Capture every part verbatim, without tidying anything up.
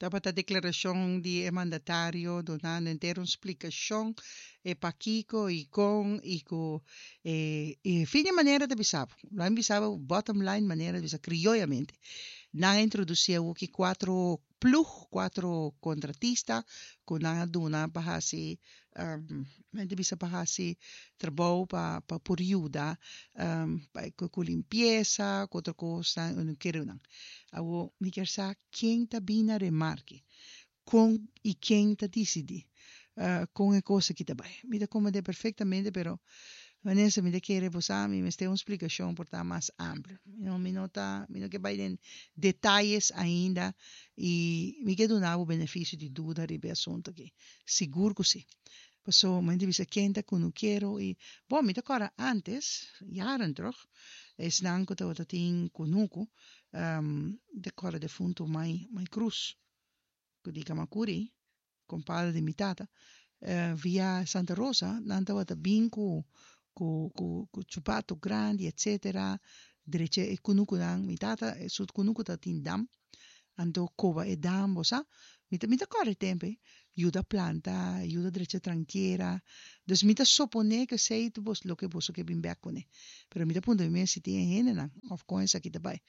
Tabata deklarashon di e mandatario dunando henter un splikashon e pakiko i kon i ku e e fin di manera ta bisa bo. Lo a bisa bo bottom line manera ta bisa krioyamente. Nan a introdusí awoki kuatro plug, kuatro kontratista ku nan a duna pa hasi men ta bisa pa hasi trabou pa pa por yuda pa ku limpiesa ku otro kosnan i no kere nan. Awo mi kier sa ken ta bin na remarke, kon i ken ta disidí kon e kos aki ta bai. Mi ta komprendé perfektamente, pero Vanessa, mi ta kere bo sa mi mester un splikashon por ta mas amplio. Mi no mi no ta mi no ke bai den detayes ainda i mi ke duna bo benefisio di duda riba e asuntu aki. Sigur ku si. Paso mi ta bisa ken ta kunukero i bon mi ta kòrda ántes, jaren terug, esnan ku tabata tin kunuku, mi ta kòrda defuntu Mai Mai Cruz ku di Kamakuri, kompadre di mi tata, via Santa Rosa nan tabata bin ku ku ku ku chupato grandi etcetera drecha e kunukunan. Mi tata su kunuku tabatin dam, anto koba e dam, bo sa. Mi ta mi ta kòrda e tempu ei, yuda planta, yuda drecha trankiera. Dus mi ta soponé ku esei ta bos loke boso ke bin bèk kuné. Pero mi ta puntra mi mes si tin e hendenan òf kon esaki ta bai.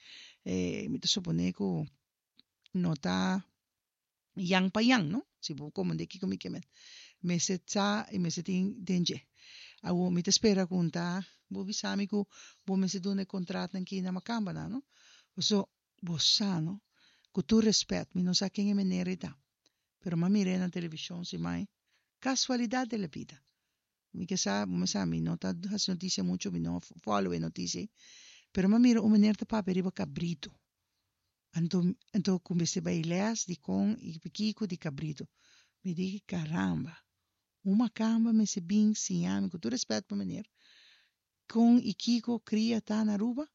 Mi ta soponé ku no ta yan pa yan, no? Si bo komprendé kiko mi ke men. Mester sa i mester tin den dje. Awor mi ta spera ku un ta bo bisa mi ku bo mester duna e kontratnan ki na makambanan, no? Paso bo sa, no? Ku tur rèspèt, mi no sa ken e meneer ei ta, pero m'a mir'é na televishon simai. Kasualidat de la bida. Mi ke sa, bo sa, mi no ta hasi notisia muchu, mi no follow e notisia ei, pero m'a mira un meneer ta papia riba kabritu. Anto, anto ku mester bai lès di kon i kiko di kabritu. Mi di, karamba, un makamba mester bin siña mi, ku tur rèspèt pa meneer, kon i kiko kria ta na Aruba.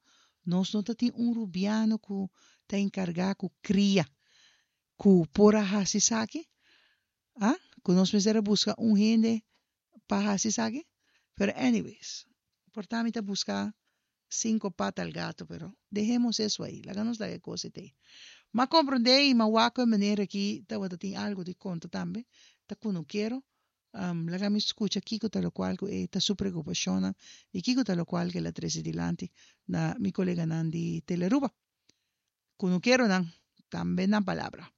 Nos no ta tin un rubiano ku ta enkargá ku kria, ku por a hasi esaki? Ah, ku nos mester a buska un hende pa hasi esaki? Pero anyways, por ta mi ta buska cinco pata al gato, pero dejemos eso ahí, laga nos laga e kos ei te. M'a komprendé i m'a wak ku e meneer aki tabata tin algu di konta tambe, ta kunukero. Laga mi skucha kiko ta lokual ku e ta su preokupashonnan i kiko ta lokual ku el a trese dilanti na mi koleganan di Telearuba. Kunukeronan, tambe nan palabra.